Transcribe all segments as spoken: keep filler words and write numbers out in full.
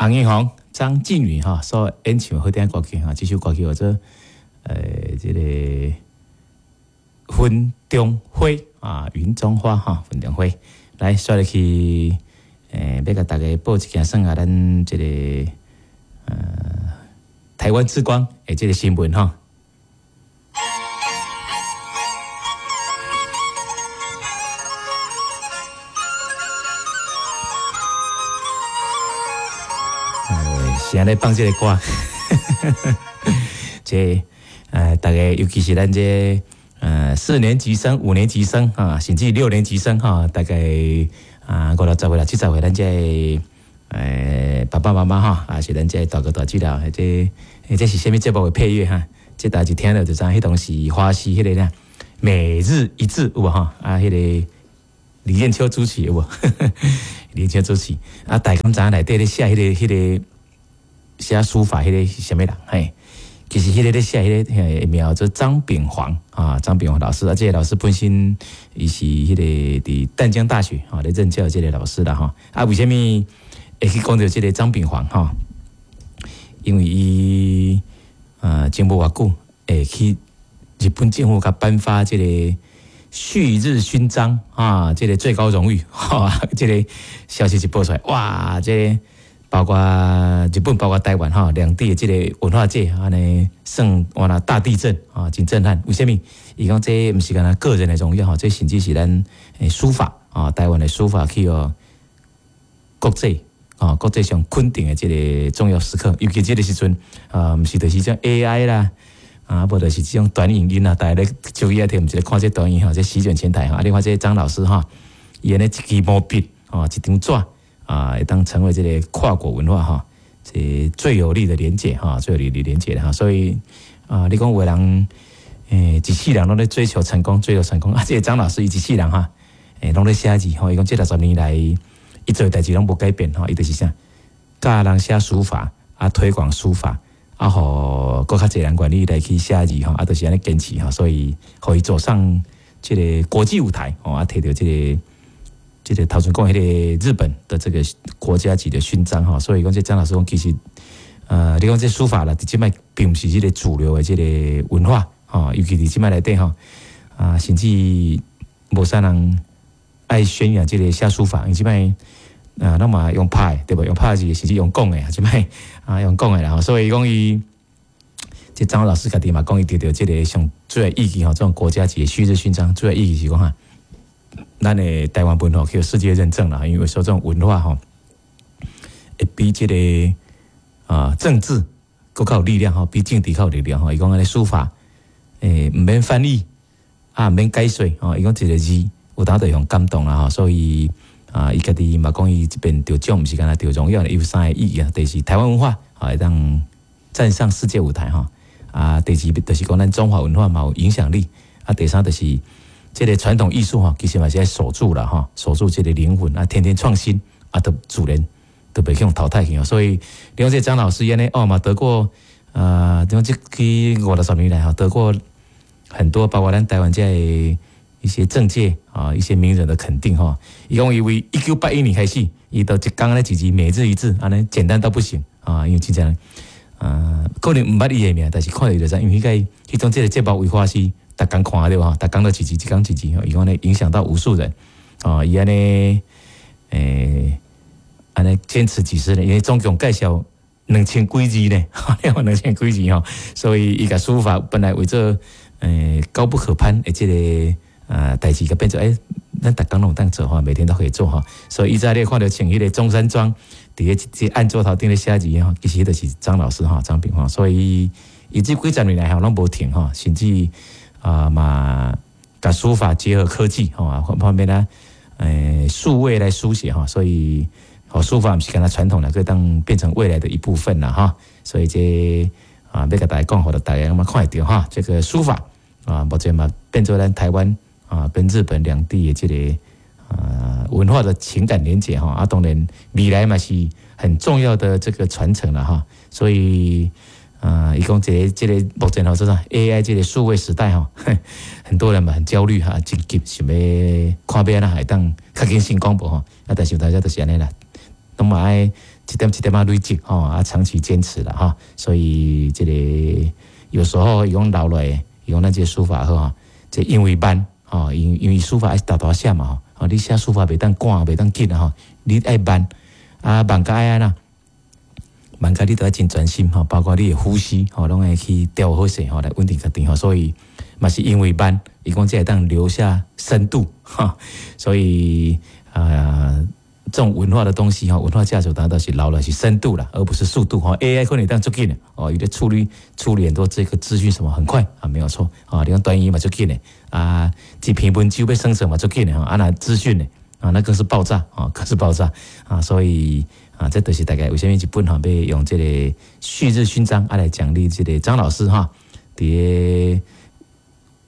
洪英宏、張靜宇哈所演唱好聽歌曲哈，這首歌曲叫做呃這個雲中花啊，雲中花哈，雲中花。來，煞落去，欸，欲共大家報一件算下咱這個呃台灣之光的這個新聞哈。是按呢放這個歌，這呃，大家尤其是咱這呃四年級生、五年級生啊，甚至六年級生哈，大概啊五六十歲、六七十歲，咱這呃爸爸媽媽哈，啊是咱這大哥大姐啦，這這是啥物節目的配樂哈？這大家聽著就知，彼當時華視彼個啦，每日一字有無哈？啊，彼個李艷秋主持有無？李艷秋主持啊，大家敢知影內底咧寫彼個彼個寫書法彼個是啥物人？嘿，其實彼個咧寫彼個名叫做張炳煌啊，張炳煌老師啊，這個老師本身伊是彼個佇淡江大學啊咧任教這個老師啦吼。啊，為啥物會去講著這個張炳煌吼？因為伊呃前無偌久會去日本政府共頒發這個旭日勳章啊，這個最高榮譽，哈，這個消息一報出來，哇，這個包括日本，包括台灣哈，兩地的這個文化界按呢算哇那大地震啊，真震撼。為啥物？伊講這毋是干焦個人的榮耀吼，這甚至是咱書法啊，台灣的書法去予國際啊，國際上肯定的這個重要時刻，尤其這個時陣啊，毋是就是這種 A I 啦，啊，無就是這種短影音啦，大家咧手機仔摕，毋是咧看這短影吼，這席捲全台吼。啊，你看這張老師哈，伊按呢一支毛筆哦，一張紙啊，會當成為這個跨國文化哈，這最有力的連結哈，最有力的連結哈。所以啊，你講有的人欸，一世人攏咧追求成功，追求成功啊！這個張老師伊一世人哈，欸，攏咧寫字吼，伊講這六十年來，伊做的代誌攏無改變吼，伊就是啥，教人寫書法啊，推廣書法啊，予閣較濟人願意來去寫字吼，啊，就是按呢堅持吼，所以予伊走上這個國際舞台吼，啊，摕著這個這個頭前講彼個日本的這個國家級的勳章吼，所以講這張老師講其實，呃，你講這書法啦，佇這擺並毋是這個主流的這個文化吼，尤其佇這擺內底吼，啊，甚至無啥人愛宣揚這個寫書法，因為這擺啊，攏嘛用拍的對無？用拍字，甚至用講的，這擺啊用講的啦，所以講伊這張老師家己嘛講，伊得著這個上主要意義吼，這種國家級的旭日勳章，主要意義是講哈，咱的台灣文化去世界認證啦，因為說這種文化吼，會比這個啊政治閣較有力量吼，比政治較有力量吼。伊講按呢書法，欸，毋免翻譯啊，毋免解說吼，伊講一個字有當就會予感動啦吼，所以啊，伊家己嘛講伊這邊得獎毋是干焦得榮耀，伊有三個意義啊，第一是台灣文化啊，會當站上世界舞台吼，啊，第二就是講咱中華文化嘛有影響力，啊，第三就是這個傳統藝術吼，其實嘛是愛守住啦吼，守住這個靈魂啊，天天創新啊，都自然都袂去予淘汰去哦。所以你講這張老師按呢哦嘛得過啊，你講這去五六十年來吼，得過很多，包括咱台灣這個一些政界啊，一些名人的肯定吼。伊講伊為一九八一年開始，伊就一工咧一字每日一字，按呢簡單到不行啊，因為真正啊，可能毋捌伊的名，但是看著伊就知，因為彼個彼種這個節目為華視逐工看對無？逐工都一字，一工一字，伊講咧影響到無數人啊，伊按呢欸，按呢堅持幾十年，因為總共介紹兩千幾字呢，兩千幾字吼，所以伊共書法本來為做欸高不可攀的這個啊代誌，共變做欸，咱逐工攏有當做吼，每天都可以做吼，所以伊早你看著穿彼個中山裝，佇個這案桌頭頂咧寫字吼，其實就是張老師吼，張炳煌，所以伊這幾十年來吼攏無停吼，甚至啊嘛，共書法結合科技吼，方面呢，欸數位來書寫吼，所以哦書法毋是干焦傳統的，閣當變成未來的一部分啦哈，所以這啊欲共大家講，予大家嘛看會著哈，這個書法啊，目前嘛變做咱台灣啊跟日本兩地的這個啊文化的情感連結哈，啊當然未來嘛是很重要的這個傳承啦哈，所以啊，伊講這個這個目前吼，做啥 A I 這個數位時代吼，很多人嘛很焦慮哈，真急想欲看欲按怎會當較緊成功無吼，啊但是大家都是按呢啦，攏嘛愛一點一點仔累積吼，啊長期堅持啦吼，所以這個有時候伊講留落來，伊講咱這個書法好吼，這因為慢吼，因因為書法愛沓沓寫嘛吼，你寫書法袂當趕，袂當緊吼，你愛慢啊慢甲愛按怎？慢甲你都愛真專心吼，包括你的呼吸吼，攏愛去調好勢吼，來穩定家己吼，所以嘛是因為慢，伊講這會當留下深度哈，所以啊，這種文化的東西哈，文化價值當然都是留的是深度啦，而不是速度哈。A I 可能當足緊的哦，伊咧處理處理很多這個資訊什麼很快啊，沒有錯啊。你講短語嘛足緊的啊，一篇文章欲生成嘛足緊的哈，啊若資訊呢啊，那更是爆炸啊，更是爆炸啊，所以啊，這就是大概為啥物日本吼欲用這個旭日勳章啊來獎勵這個張老師哈，佇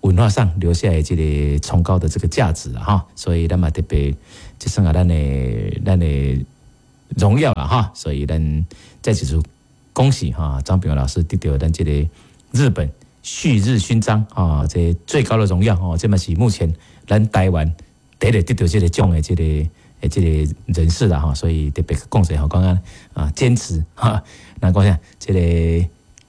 文化上留下來這個崇高的這個價值哈，所以咱嘛特別這算啊咱的咱的榮耀啦哈，所以咱再一次恭喜哈張炳老師得到咱這個日本旭日勳章啊，這最高的榮耀哦，這嘛是目前咱台灣第一個得到這個獎的這個這個人士啦哈，所以特別講者吼，講啊啊堅持哈，那講啥這個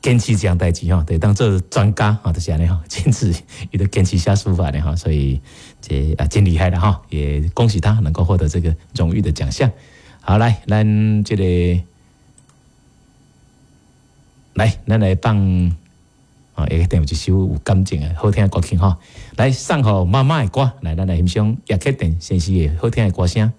堅持這項代誌吼，得當做專家啊，就是按呢吼，堅持伊都堅持寫書法的哈，所以這啊真厲害了哈，也恭喜他能夠獲得這個榮譽的獎項。好，來，咱這個來，咱來放啊，一定有一首有感情的好聽的歌曲吼，來送予媽媽的歌，來，咱來欣賞葉克典先生的好聽的歌聲。